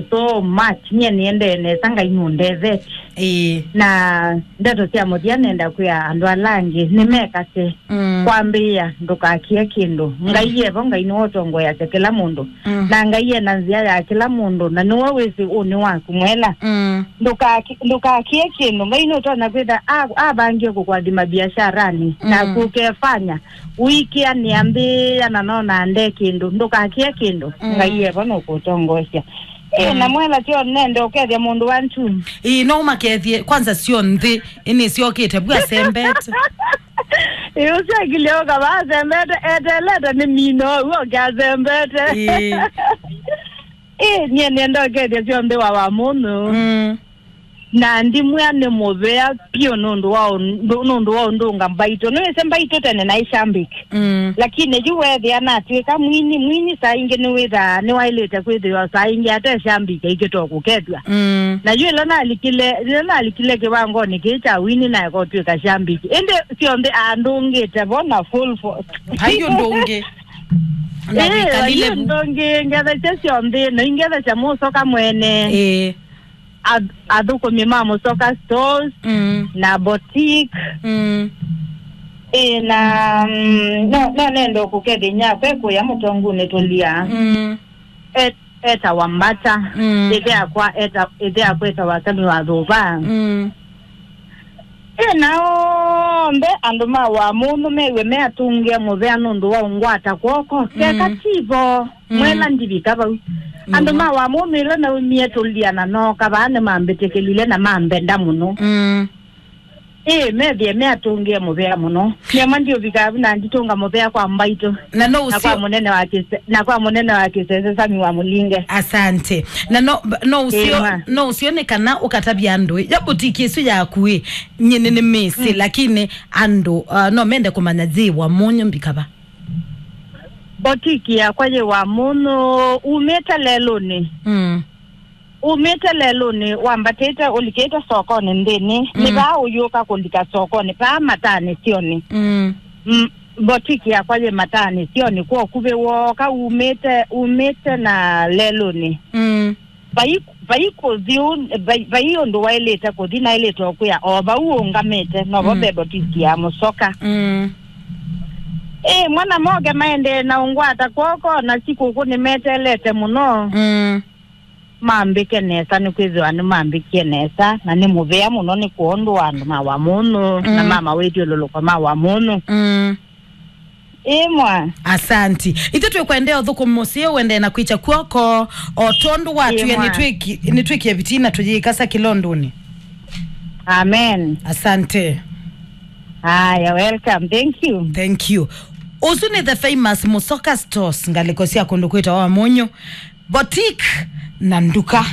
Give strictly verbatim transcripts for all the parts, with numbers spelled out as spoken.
so much. Nyie nĩendee nesa, Ngai nũndethetie. Ĩĩ. Na ndeto sya mũthya nenda kwĩa andũ ala angĩ nĩmekase. Mm. Kwambĩĩa, ndũkakie kĩndũ. Ngai evo, Ngai nĩwe ũtongoeasya kĩla mũndũ. Mm. Na Ngai ena nzĩa ya kĩla mũndũ, na nĩwe wĩsĩ ũnĩ waku mwela. Mm. Ndũkaki-, ndũkakie kĩndũ. Ngai nũtonya kwĩtha a-, avangie kũkwathima biasharani, mm, naku ũkefanya. Ũikĩa nĩambĩĩa na nona nde kĩndũ. Ndũkakie kĩndũ. Mm. Ngai evo nũkũtongoesya. Ĩ, mm, na mwela tyo nende ũkethya mũndũ wa ntu. Ĩĩ, no ũmakethie kwanza syo nthĩ, ĩnĩ syokĩte vu asembete. Ĩ, ũsyakilye ũkava asembete, etelete nĩ mino, ũo ũke asembete. Ĩĩ. Ĩ, nyie nenda ũkethya syo nthĩ wa wa mũnũ. Mm. Na ndimwĩa nĩ mũvea piũ nũndũ wa ũndũ, nũndũ wa ũndũnga mbaitũ. Nĩwĩsĩ mbaitũ tene naĩ shambiki. Mm. Lakini yu weethĩa natw'ĩka mwini, mwini saa ingĩ nĩwĩthaa nĩwaĩlĩte kwĩthĩwa saa ingĩ ate shambiki aikĩtwa kũkethw'a. Mm. Na yu ĩla nalikile, ĩla nalikile kĩwangonĩ kĩĩ kya wini naeka ũtw'ĩka shambiki. Ĩndĩ syonthe andũngĩte vo na full force. Vai ũndũ ũngĩ. Na ĩĩ, wĩkalile vai vu. Ũndũ ũngĩ ngethesya syonthe, na ingethesya mũsoka mwene. Ĩĩ. Ath-, athũkũmi ma Mũsoka Stores, mm, na boutique. Mm. Ĩ, na, mm, no, no nenda kũkethĩnya kwekũya mũtongunĩ tũlia. Mm. Et-, etawa Mbata. Mm. Ĩthe akwa eta-, ĩthe akwa etawa Sami wa Thũva. Mm. Ĩ, na onthe andũ ma wa mũnũ mew'e me atũngĩe mũvea nũndũ wa ũngwata kw'oko. Keka, mm, tivo. Mm. Mwela ndivika vau. Andũ, nĩvo, ma wa mũmĩlo naumie tũlia na nooka vaa nĩmambĩtĩkĩlile na mambenda mũno. Mm. Ĩĩ, methĩe me atũngĩe mũvea mũno. Nyama ndiũvika vu na nditũnga mũvea kwa mbaitũ. Na no na kwa ũsio- mũnene wa kĩse-, na kwa mũnene wa kĩsese Sami wa Mũlinge. Asante. Na no, no ũsio, ĩĩ, ma, no ũsio nĩ kana ũkatavya andũ ĩ, ya butiki ĩsu yaku ĩ, nyie nĩ nĩmĩsĩ, mm, lakini andũ, uh, no mende kũmanya yĩ wa mũnyũ mbika va. Botiki yakwa yĩ wa mũnũ, umĩte lelũnĩ. Mm. Umĩte lelũnĩ, wambatĩte, ũlikĩte sokonĩ nthĩnĩ. Mm. Nĩ vaa ũyũka kũlika sokonĩ, vaa matanĩ syonĩ. Mm. Mm, botiki yakwa yĩ matanĩ syonĩ, kwa ũkuvĩ wooka, umĩte, umĩte na lelũnĩ. Mm. Vai, vai kũthi ũ-, vai, vai ũndũ waĩlĩte kũthi, naĩlĩte o kwĩa o vau ũngamĩte, novo, mm, ve botiki ya Mũsoka. Mm. Ĩ, mwana moke maendee na ũngwata kw'oko, na sikũkũ nĩmeteelete mũno. Mm. Mambĩke nesa, nĩkwĩthĩwa nĩmambĩkie nesa, na nĩ mũvea mũno nĩ kwondũ wa andũ ma wa mũnũ, na, mm, ma mawĩthyũlũlũko ma wa mũnũ. Mm. Ĩĩ mwa. Asanti. Ithyĩ twĩkwendea ũthũkũmi mũseo, ũendee na kwĩkya kw'oko, o tondũ watwĩe. Ĩĩ mwa. Nĩtwĩki-, nĩtwĩkie vitina tũyĩkasa kĩlondũnĩ. Amen. Asante. Aya, welcome. Thank you. Thank you. Ũsu nĩ the famous Mũsoka Stores, ngalĩko sya kũndũ kwĩtawa Mũnyũ. Boutique na nduka.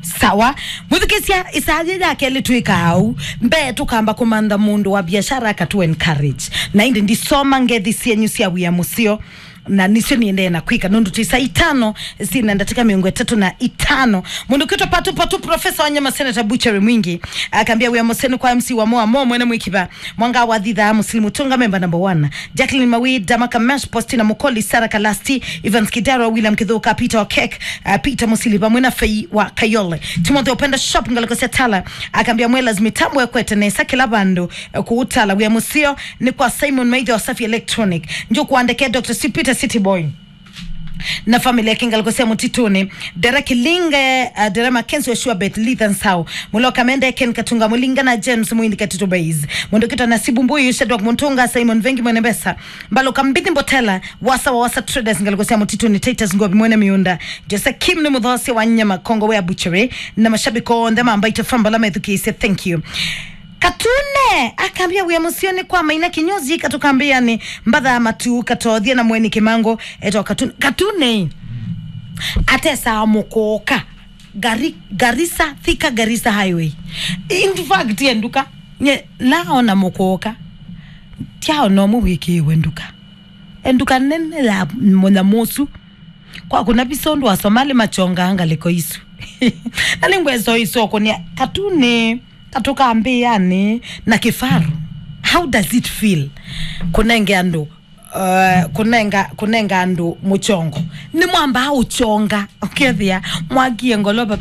Sawa. Mwĩthukĩsya, ĩsaa yĩ ya kelĩ twĩkaa ũu. Mbee tũkamba kũmantha mũndũ wa biashara akatũ encourage. Na ĩndĩ ndisoma ngethi syenyu sya wĩa mũseo. Na nĩsyo niendee na kwĩka nũndũ twĩ saa itano syĩna ndatĩka mĩongo ĩtatũ na itano. Mũndũ kwĩtwa Patu Patu, Profesa wa Nyama, Senator Butchery Mwingi, akambia wĩa mũseo nĩ kwa M C wa Moa Mo mwene mwĩkiva. Mwanga wa Thitha, Musili Mutunga, member number one. Jacqueline Mawi, Dama Kamesh, Postina Mukoli, Sarah Kalasti, Evans Kidaro, William Kithuka, Peter Okek, uh, Peter Musili, vamwe na Fei wa Kayole. Timothy Openda Shop, ngalĩko sya Tala, akambia Mwelas mitambo ekwete nesa kĩla vandũ, uh, kũu Tala. Wĩa mũseo nĩ kwa Simon Maitha wa Safi Electronic. Njo kuandeke Doctor Sweet Peter City Boy na family yake ngalĩko sya Mũtitũnĩ. Dera Kilinge, uh, Dera Mackenzie wa Sure Bet, Lithan Sao, Mulo Kamende, Ken Katunga Mulinga na James Mwindi Katito Base. Mũndũ kwĩtwa Nasibu Mbuyu, Shadrack Mutunga, Simon Vengi Mwene Mbesa, Mbalo Kambithi Mbotela, Wasa wa Wasa Traders ngalĩko sya Mũtitũnĩ, Titus Ngobi Mwene Miunda, Jose Kim nĩ mũthosi wa nyama Kongo Wea Butchery, na mashabiki onthe ma Mbaitũ F M ala methukĩĩsye, thank you. Katune akambia wĩa mũseo nĩ kwa Maina Kinyozi, katũkambĩanĩ mbatha matu katothie na mweni Kimango, eto Katune. Katune atesaa mũkũũka Gari-, Garissa, Thika Garissa Highway. In fact, enduka nye laona mũkũũka, tyaona ũmwe wĩkĩĩwe nduka. Enduka nene ya mũnyamũ ũsu. Kwa kuna visa ũndũ Asomali machongaa ngalĩko isu. Na nĩngwesa ũisokũnĩa Katune, katũkambĩanĩ na kĩfaru. How does it feel? Kũnenge andũ, uh, kũnenga, kũnenga andũ mũchongo. Nĩ mwambaa ũchonga, ũkethĩa mwakie ngolova